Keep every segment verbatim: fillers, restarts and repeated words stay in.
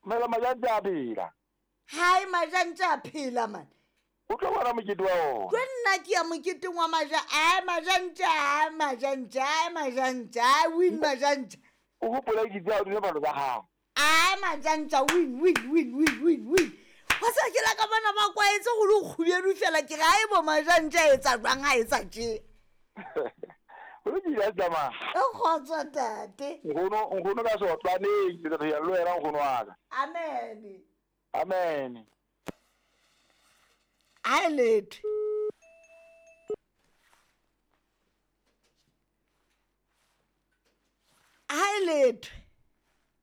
Mela majantja a phela. Hai majantja a phela man. O tlo bona mokete wa ona. Ke nna ke ya moketeng wa maja, ai majantja, ai majantja, ai majantja, ai win majantja. O hopola ke tsa o dile balo tsa hao. Ai majantja win win win win win win. Wa sa ke la ka bona ba kwaetse go le kgubedu fela ke ga e bo majantja etsa jwang ha etsa tje. O le dira tsamaya. O kgotso tate. Nkgono nkgono ka sotlwaneng ke tla ya lo wena nkgono wa ka. Amen. Amen. Ai letho. Ai letho.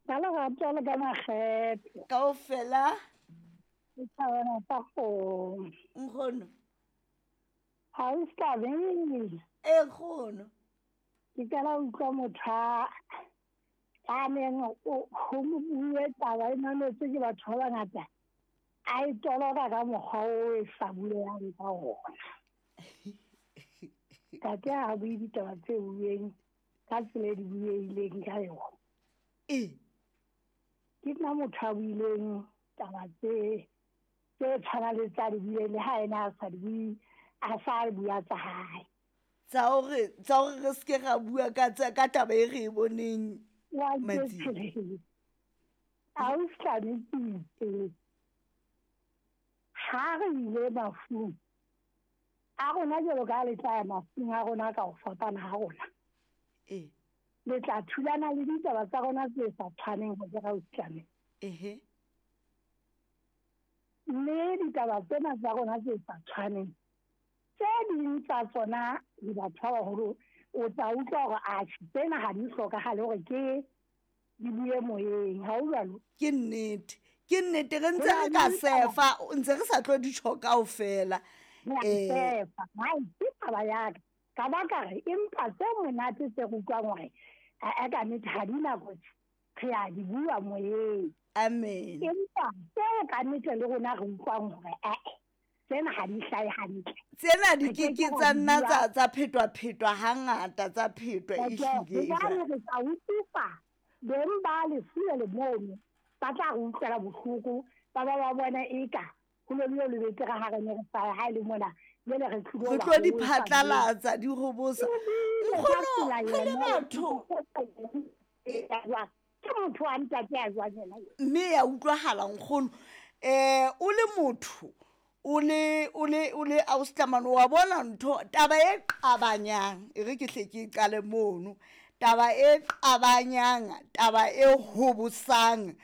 Ka lerato le ka makgethe. Kaofela. Ke thabela tsa kgomo. Nkgono. Ha o ska be. E nkgono. Ke qala ho utlwa motho a a neng o ho mo bue taba e mametswe ke batho ba bangata. A e toloka ka mokgwa o e sa bulelang ka ona. Tate ha bue ditaba tse bueng ka tsela e di bueileng ka yona. E. Ke nna motho a buileng taba tse tse tshwanang le tsa di buileng le ha ena a sa di bue, a sa bua tsa hae. Tsa hore tsa hore re se ke ra bua ka tsa ka taba e re e boneng Wa Matsing. A o tlametse ha re ile mafung a rona jwalo ka le tla ya mafung a rona ka ho fapana ha rona. E. Le tla thulana le ditaba tsa rona tse sa tshwaneng ho ra o tlame. Ehe. Mme ditaba tsena tsa rona tse sa tshwaneng tse ding tsa tsona le batho ba baholo o tla utlwa hore atjhe tsena ha di hlokahale hore ke di bue moyeng, ha o jwalo? Ke nnete. Ke nnete re ntse re ka sefa, ntse re sa tlo di tjho kaofela. Eh sefa, hai ke taba ya ka. Ka ba ka re empa tse monate tse re utlwang hore a ka nnete ha di na kotsi, re a di bua moyeng. Amen. Empa tseo ka nnete le rona re utlwang hore eh tsena ha di hlahe hantle. Tsena di ke ke tsa nna tsa tsa phetwa phetwa hangata tsa phetwa ehlile. Hobane re tla utlwisa beng ba lefu le mono ba tla re utlwela bohloko, ba ba ba bona eka ho lo le betere ha re ne re sa ha le mona jwale re tlilo re tlo di phatlalatsa di hobosa. Nkgono re le batho ke motho wa ntate a jwang yena. Mme ya utlwahala nkgono eh o le motho o le o le o le ausi wa bona ntho taba e qabanyang e re ke hle ke qale mono taba e qabanyang taba e hobosang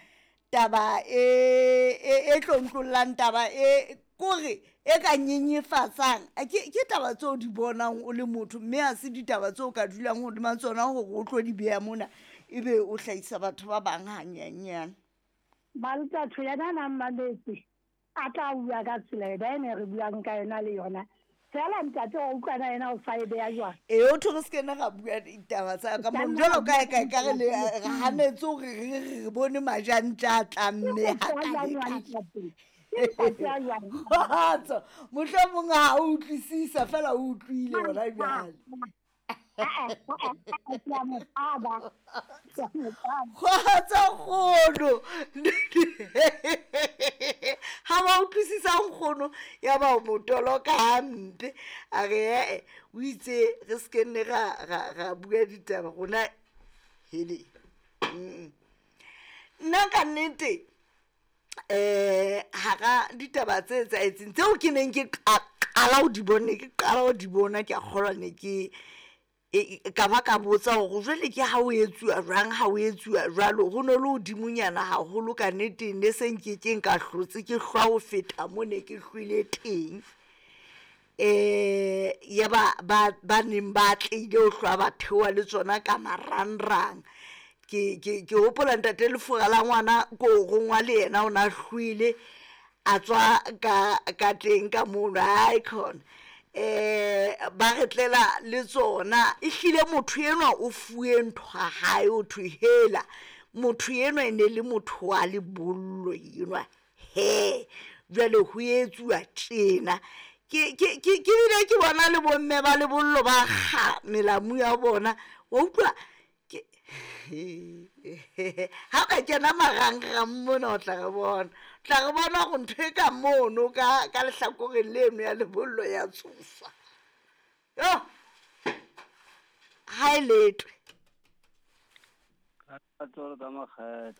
taba e e tlontlollang taba e kore e ka nyenyefatsang ke ke taba tseo di bonang o le motho mme ha se ditaba tseo ka dulang hodima tsona hore o tlo di beha mona ebe o hlahisa batho ba bang hanyenyane. Maltatho yena na mametse a tla bua ka tsela e ne re buang ka yona le yona. Fela ntate wa utlwana yena o sa e beha jwang. E o thore se kena ra bua ditaba tsa ka mo jwalo ka ka ka re le hanetse hore re re bone majantja a tlamme ha ka. Kgotso mohlomong ha o utlwisisa fela o utlwile hona jwale. Kgotso kgono. Ha ba utlwisisa nkgono ya ba o motoloka hampe a re eh o itse re se ke nne ra ra bua ditaba rona hele. Nna ka nnete eh hara ditaba tse etsahetseng tseo ke neng ke qala ho di bona ke qala ho di bona ke a kgolwa ne ke ka ba ka botsa hore jwale ke ha o etsuwa jwang ha o etsuwa jwalo ho no le hodimonyana haholo ka nnete ne se nkekeng ka hlotse ke hlwa ho feta mo ne ke hlwile teng. Eh ya ba ba ba neng ba tlile ho hlwa ba theoha le tsona ka marangrang. Ke ke ke hopola ntate Lefura la ngwana ko rongwa le yena o na hlwile a tswa ka ka teng ka mono hai khona eh ba re tlela le tsona e hlile motho enwa o fuwe ntho ha hae o thwe hela motho enwa e ne le motho wa lebollo enwa he jwale ho etsuwa tjena ke ke ke ke bile ke bona le bomme ba lebollo ba kga melamu ya bona wa utlwa ke Ga o ka kena marangrang mona o tla re bona, o tla re bona gore ntho e ka mono ka ka lehlakoreng leno ya lebollo ya tshosa. Yo, ha e letwe. Ka tsolo ka makgethe.